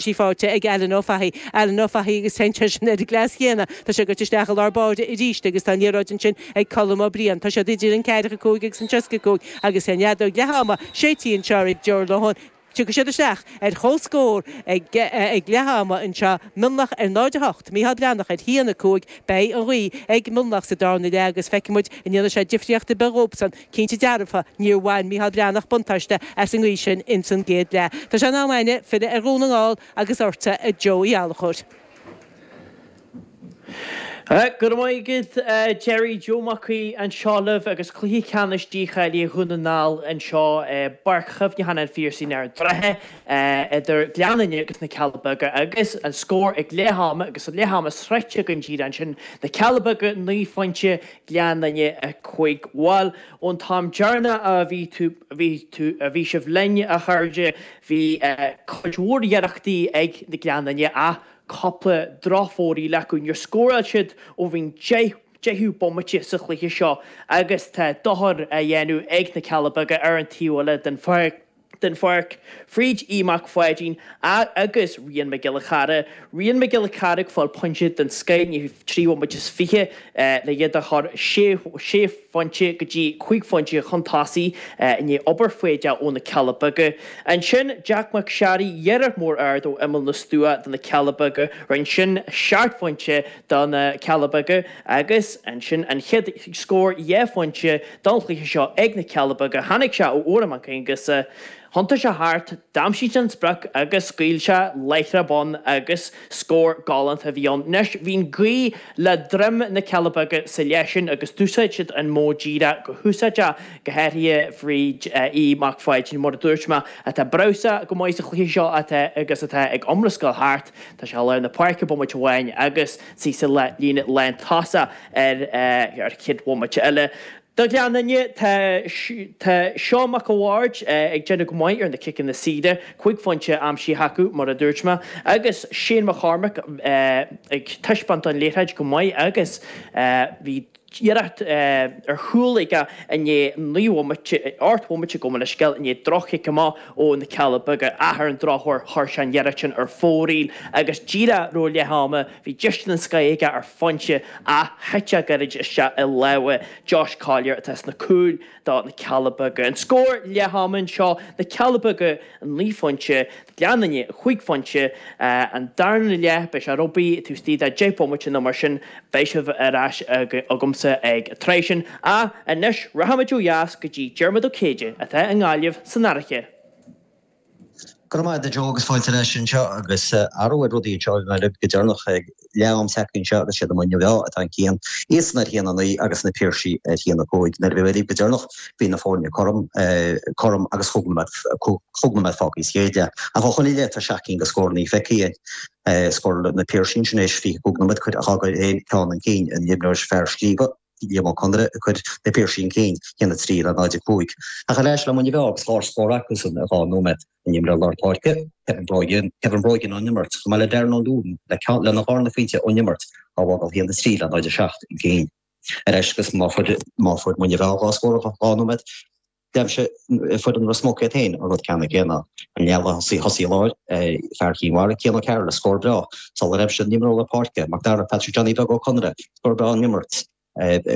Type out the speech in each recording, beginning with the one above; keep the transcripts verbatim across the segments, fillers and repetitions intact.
sí faighte ag Alan Ó Fathaigh Alan Ó Fathaigh agus téann sin ar an gcleas chéanna Tá sé goite isteach i lár báire arís agus tá an liathróid ansin ag Colm Ó Briain Tá siad idir an ceathracha cúig agus an tríocha cúig agus an fheadóg leath ama séidte anseo ag Joe Lohan. Tiocfaidh siad isteach ar chomhscór ag ag leath ama anseo Mionlach ar náid a hocht, Mícheál Breathnach ar haon a cúig, beidh an ghaoth ag Mionlach sa darna leath agus feicfidh muid an ndéanfaidh sé difríocht ar bith dhóibhsan. Cinnte dearfa, níor bhain Mícheál Breathnach buntáiste as an ngaoth sin ins an gcéad leath. Tá sé in am againne filleadh ar Dhún na nGall agus ortsa a Joe Uí Ghallchóir. Go raibh maith agat Jerry Joe Mac Aoidh anseo libh agus cluiche ceannais dícháilithe Dhún na nGall anseo i bPáirc Chuimhneacháin an Phiarsaigh ar an Droichead idir Gleann Fhinne agus na Cealla Beaga agus an scór ag leath ama agus an leath ama sroichte againn díreach ansin na Cealla Beaga naoi phointe Gleann Fhinne a cúig. Bhuel ón t-am deireanach a bhí tú bhí tú a bhí sibh linn a chairde bhí cuid mhór iarrachtaí ag na Gleann Fhinne ach cúpla drochfhóraíl acu. Níor scóráil siad ó bhí an deichiú bomaite sa chluiche seo agus tá dochar á dhéanamh ag na Cealla Beaga ar an taobh eile den pháirc den pháirc fríd Aodh Mac Pháidín agus Rian Mac Giolla Chara. Rian Mac Giolla Chara ag fáil pointe den scoth i ndiaidh trí bhomaite is fiche le iad a chur sé sé phointe go dtí cúig phointe chun tosaigh i ndiaidh obair foighdeach ó na Cealla Beaga. Ansin Jack Mac Searaigh iarracht mór ard ó imeall na stua do na Cealla Beaga, rinne sin seacht phointe do na Cealla Beaga agus ansin an chéad scór dhá phointe don chluiche seo ag na Cealla Beaga. Tháinig sé ó Odhrán Mac Aonghusa. Thiontaigh sé thart, d'aimsigh sé an sprioc agus scaoil sé láithreach bonn agus scór galánta a bhí ann. Anois, bhí an ghaoth le droim na Cealla Beaga sa leath sin agus d'úsáid siad an modh díreach go húsáideach, go háirithe fríd Aodh Mac Pháidín, mar a dúirt mé, atá breabhsach go maith sa chluiche seo atá agus atá ag iomrascáil thart. Tá sé i lár na páirce bomaite amháin agus síos an líne lántosach ar ar chéad bhomaite eile. Do Ghleann Fhinne, tá tá Seán Mac a' Bhaird ag déanamh go maith ar na ciceanna saora, cúig phointe aimsithe acu mar a dúirt mé, agus Shane McCormack ag taispeáint an liathróid go maith agus bhí iarracht ar chúl aige i ndiaidh naoi bhomaite, ocht bhomaite gabh mo leithscéal, i ndiaidh droch-chic amach ó na Cealla Beaga ach ar an drochuair chuir sé an iarracht sin ar fóraoil agus díreach roimh leath ama bhí deis den scoth aige ar phointe ach thit sé gairid isteach i lámha Josh Collier atá sna cúil do na Cealla Beaga. An scór leath ama anseo, na Cealla Beaga naoi phointe, Gleann Fhinne cúig phointe. An darna leath, beidh sé rugbaí taobh istigh de deich bomaite nó mar sin, beidh sibh ar ais agamsa ag an tráth sin. Ach anois, rachaimid ó dheas go dtí Diarmuid Ó Céide atá i nGaillimh san Fhairche. Go raibh maith agat a Joe agus fáilte ar ais anseo agus athrú ar rudaí anseo i nGaillimh go deireanach ag leath am tagtha anseo agus siad Muine Mheá atá chun cinn, iadsan ar haon a naoi agus na Piarsaigh ar haon a cúig. Nuair a bhí mé libh go deireanach bhí na foirne cothrom, cothrom agus chúig nóiméad, chúig nóiméad fágtha sa chéad leath. Ach ó shoin i leith tá seacht gcinn de scóranna feicthe againn. Scóráil na Piarsaigh ansin éis fiche cúig nóiméad, cuir a fhágáil aon ceann chun cinn an imreoir fear Scríbe. Liam Ó Conaire ag cur na Piarsaigh chun cinn, haon a trí le náid a cúig. Ach ar ais le Muine Mheá agus dhá scór acusan i dhá nóiméad. An imreoir lár páirce, Kevin Brogan, Kevin Brogan ón imirt, chomh maith le Darren Ó Dúin le ceann lena dharna phointe ón imirt á bhfágáil haon a trí le náid a seacht chun cinn. Ar ais agus má fuair má fuair Muine Mheá dhá scór i dhá nóiméad, D'aimsigh foireann Ros Muc iad féin an rud ceannann céanna. An leath-thosaí thosaí láir, fear Chinn Mhara, Cian Ó Cearúil le scór breá sular aimsigh an t-imreoir lár páirce, Mac Dara, Patrick Johnny Beag Ó Conaire, scór breá ón imirt, ag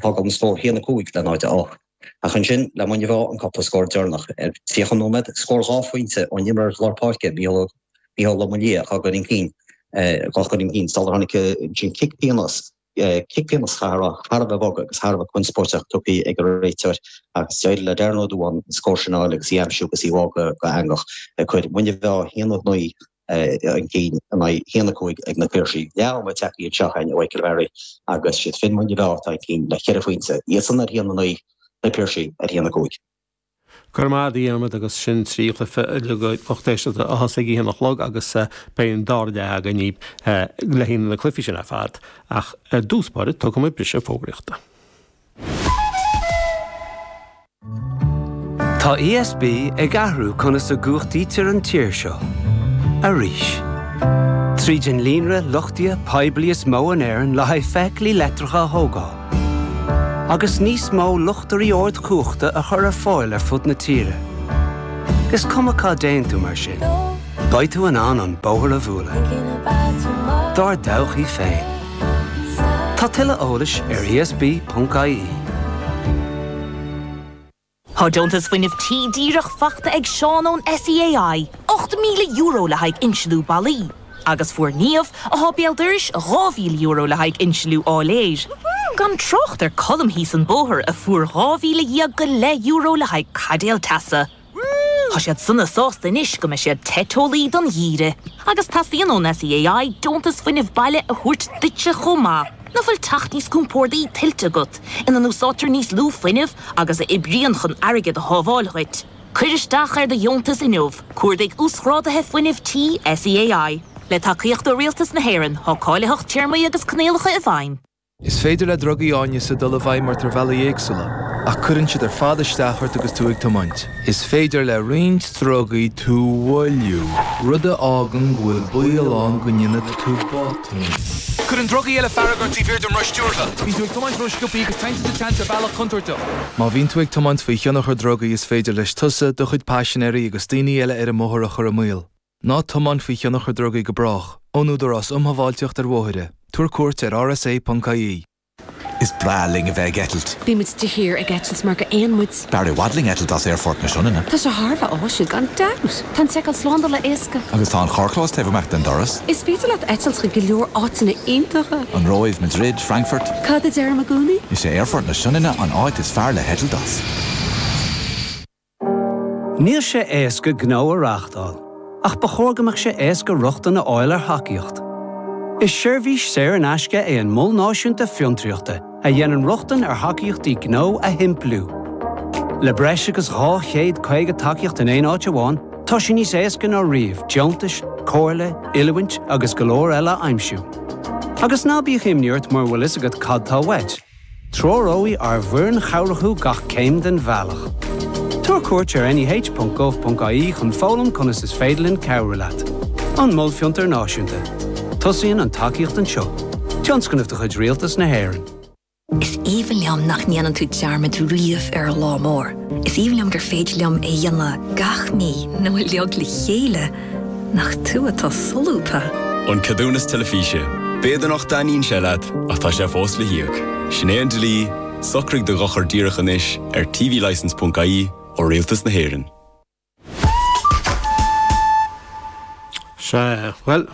fágáil an scór haon a cúig le náid a ocht. Ach ansin, le Muine Mheá an cúpla scór deireanach ar tríocha nóiméad, scór dhá phointe ón imreoir lár páirce, Mícheál Ó Maoildhia, á gcur chun cinn, á chur chun cinn sular tháinig ansin cic pionóis. Cic pionóis thar a bheith bog agus thar a bheith conspóideach tugtha ag an réiteoir agus d'éirigh le Darren Ó Dúbháin an scór sin a fháil agus í a aimsiú agus í a bhfágadh go heangach ag cur Muine Mheá haon a naoi chun cinn in aghaidh haon a cúig ag na Piarsaigh. Leath ama tagtha anseo againn a Mhichael Barry agus siad fir Mhuine Mheá atá chun cinn le ceithre phointe, iadsan ar haon a naoi, na Piarsaigh ar haon a cúig. Go raibh maith agat a Dhiarmaid agus sin trí chluiche uilig a lucht éisteachta a thosaigh ag a haon a chlog agus beidh an dara leath againn le haghaidh na cluichí sin ar fad ach ar dtús báire tógfaidh muid briseadh fógraíochta. Tá ESB ag athrú conas a gcumhachtaítear an tír seo. Arís. Tríd an líonra luchtaithe poiblí is mó in Éirinn le haghaidh feithiclí leictreacha a thógáil. Agus níos mó luchtairí ardchumhachta a chur ar fáil ar fud na tíre. Is cuma cá dtéann tú mar sin. Beidh tú in ann an bóthar a bhualadh. Dár dtodhchaí féin. Tá tuilleadh eolais ar E S B ponc I E. Tá deontas fuinnimh tí díreach faighte ag Seán ón S E A I, ocht míle euro le haghaidh insliú ballaí. Agus fuair Niamh atá béal dorais dhá mhíle euro le haghaidh insliú áiléir. Gan trácht ar Colm thíos an bóthar a fuair dhá mhíle dhéag go leith euro le haghaidh caidéal teasa. Tá siad sona sásta anois go mbeidh siad te teolaí don gheimhreadh, agus teastaíonn ón S E A I deontas fuinnimh baile a thabhairt duitse chomh maith. An bhfuil teach níos compordaí tuillte agat, ina n-úsáidtear níos lú fuinnimh agus a oibríonn chun airgead a shábháil dhuit. Cuir isteach ar do dheontas inniu, cuardaigh uasghráduithe fuinnimh tí S E A I. Le tacaíocht ó Rialtas na hÉireann, tá cáilitheacht, téarmaí agus coinníollacha i bhfeidhm. Is féidir le drugaí áineasa dul i bhfeidhm ort ar bhealaí éagsúla, ach cuireann siad ar fad isteach ort agus tú ag tiomáint. Is féidir le roinnt drugaí tú a mhoilliú, rud a fhágann go bhfuil baol ann go ndéanfaidh tú botún. Cuireann drugaí eile fearg ort taobh thiar den roth stiúrtha. Bíonn tú ag tiomáint ró-sciobtha agus téann tú sa tseans ar bhealach contúirteach. Má bhíonn tú ag tiomáint faoi thionchar drugaí is féidir leis tusa, do chuid paisinéirí agus daoine eile ar an mbóthar a chur i mbaol. Ná tiomáin faoi thionchar drugaí go brách, ón Údarás um Shábháilteacht ar Bhóithre. Tabhair cuairt ar R S A ponc I E. Is breá linn a bheith ag eitilt. Bímid de shíor ag eitilt mar gur éan muid. B'fhearr i bhfad linn eitilt as aerfort na Sionainne. Tá sé thar a bheith áisiúil gan dabht. Tá an tseiceáil slándála éasca. Agus tá an carrchlós taobh amach den doras. Is féidir leat eitilt chuig go leor áiteanna iontacha. An Róimh, Madrid, Frankfurt. Cad a deirim i gcónaí? Is é aerfort na Sionainne an áit is fearr le heitilt as. Níl sé éasca gnó a reáchtáil, ach ba chóir go mbeadh sé éasca rochtain a fháil ar thacaíocht. Is seirbhís saor in aisce é an Mol Náisiúnta Fiontraíochta a dhéanann rochtain ar thacaíochtaí gnó a shimpliú. Le breis agus dhá chéad caoga tacaíocht in aon áit amháin, tá sé níos éasca ná riamh deontais, comhairle, oiliúint agus go leor eile a aimsiú. Agus ná bíodh imní ort mura bhfuil a fhios agat cad tá uait. Treoróidh ár bhfoireann chabhrach thú gach céim den bhealach. Tabhair cuairt ar N E H ponc gov ponc I E chun foghlaim conas is féidir linn cabhrú leat. An Mol Fiontar Náisiúnta. Tosaíonn an tacaíocht anseo. Tionscnamh de chuid Rialtas na hÉireann. Is aoibhinn liom nach ndéanann tú dearmad riamh ar an lá mór. Is aoibhinn liom gur féidir liom é a dhéanamh gach mí nó uilig le chéile nach tú atá solúbtha. An ceadúnas teilifíse. B'fhéidir nach dtaitníonn sé leat ach tá sé fós le híoc. Sin é an dlí, socraigh do dhochar díreach anois ar T V licence ponc I E ó Rialtas na hÉireann. Sea, bhuel,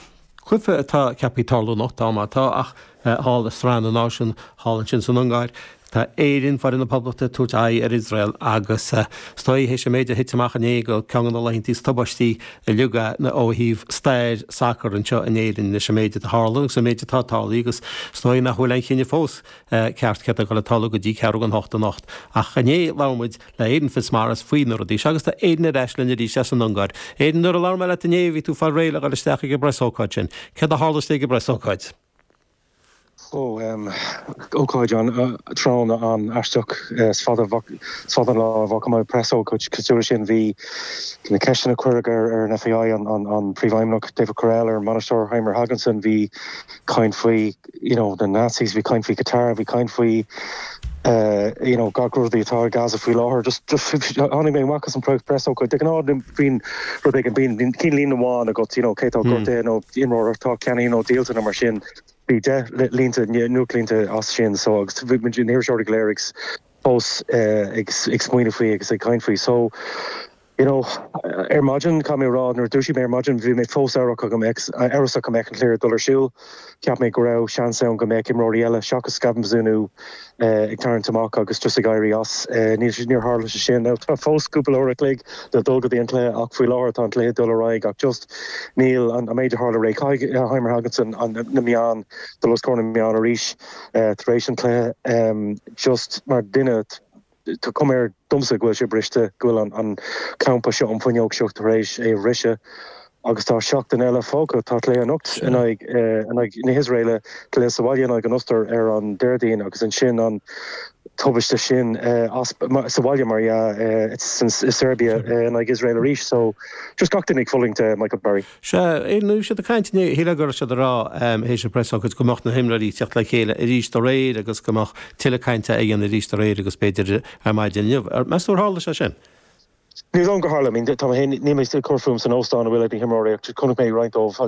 cluiche atá ceaptha tarlú anocht má tá ach thall i Sraith na Náisiún thall ansin san Ungáir. Tá Éirinn, foireann na Poblachta, tabhairt aghaidh ar Iosrael agus is dóigh théis an méid a thit amach inné go ceann de na laethanta is tubaistí uilig ó thaobh stair sacair anseo in Éirinn leis an méid atá tharla agus an méid atá tarlaithe agus is dóigh nach bhfuil aon chinneadh fós ceart céard atá ag tarlú go dtí ceathrú don hocht anocht. Ach inné labhair muid le Aidan Fitzmaurice faoi na rudaí seo agus tá Aidan ar ais linn arís as an Ungáir. Aidan, nuair a labhair mé leat inné bhí tú fáil réidh le dhul isteach ag an bpreasócáid sin. Céard a tharla ag an bpreasócáid? Ó um, ócáid an uh, tráthnóna an-aisteach uh, is fada is fada an lá a bhfaca mé preasócáid cosúil sin. Bhí na ceisteanna cuireadh ar ar an F A I, an, an, an príomhfheidhmeannach David Courell, ar an mbainisteoir Heimir Hallgrímsson. Bhí caint faoi you know, the Nazis, bhí caint faoi Qatar, bhí caint faoi uh, you know, gach rudaí atá i Gaza faoi láthair. just just tháinig mé amach as an preasócáid, de ghnáth bíonn rud éigin, bíonn cinn líne amháin agat you know, cé tá gortaithe nó imreoir atá ceannaithe nó díolta nó mar sin. Bhí deich línte nuachtlínte as sin, so agus bhí na hiriseoirí go léir fós ag ag smaoineamh faoi agus ag caint faoi. So you know ar maidin, caithfidh mé rá, nuair a dúisigh mé ar maidin bhí mé fós amhrasach go mbeadh amhrasach go mbeadh an cluiche dul ar siúl. Cheap mé go raibh seans ann go mbeadh imreoirí eile seachas Gavin Bazunu ag tarraingt amach agus just ag éirí as. Níl níor tharla sé sin. Now tá fós cúpla uair a chloig le dul go dtí an cluiche ach faoi láthair tá an cluiche dul ar aghaidh ach just níl an an méid a tharla aréir, Heimir Hallgrímsson an na meáin dul os comhair na meán arís tar éis an cluiche, just mar duine tá cuma air domsa go bhfuil sé briste, go bhfuil an an campa seo, an fuinneog seo tar éis é bhriseadh agus tá seachtain eile fágtha. Tá cluiche anocht in aghaidh in aghaidh na hIosraeile, cluiche sa bhaile in aghaidh an Ostair ar an Déardaoin agus ansin an tubaiste sin as sa bhaile mar uh, i Serbia in aghaidh Israel arís, so just gach duine ag fulaingt, Michael Barry. Sea, nuair siad ag caint shíl go raibh siad ag rá théis an preasócáid go mbeadh na himreoirí teacht le chéile arís aréir agus go mbeadh tuilleadh cainte a dhéanamh arís aréir agus b'fhéidir ar maidin inniu. Meas tú ar tharla sé sin? Ní dom go hála, tá ní mé cur fúm san óstán a bhfuil ag na himreoirí chonaic mé roinnt dóibh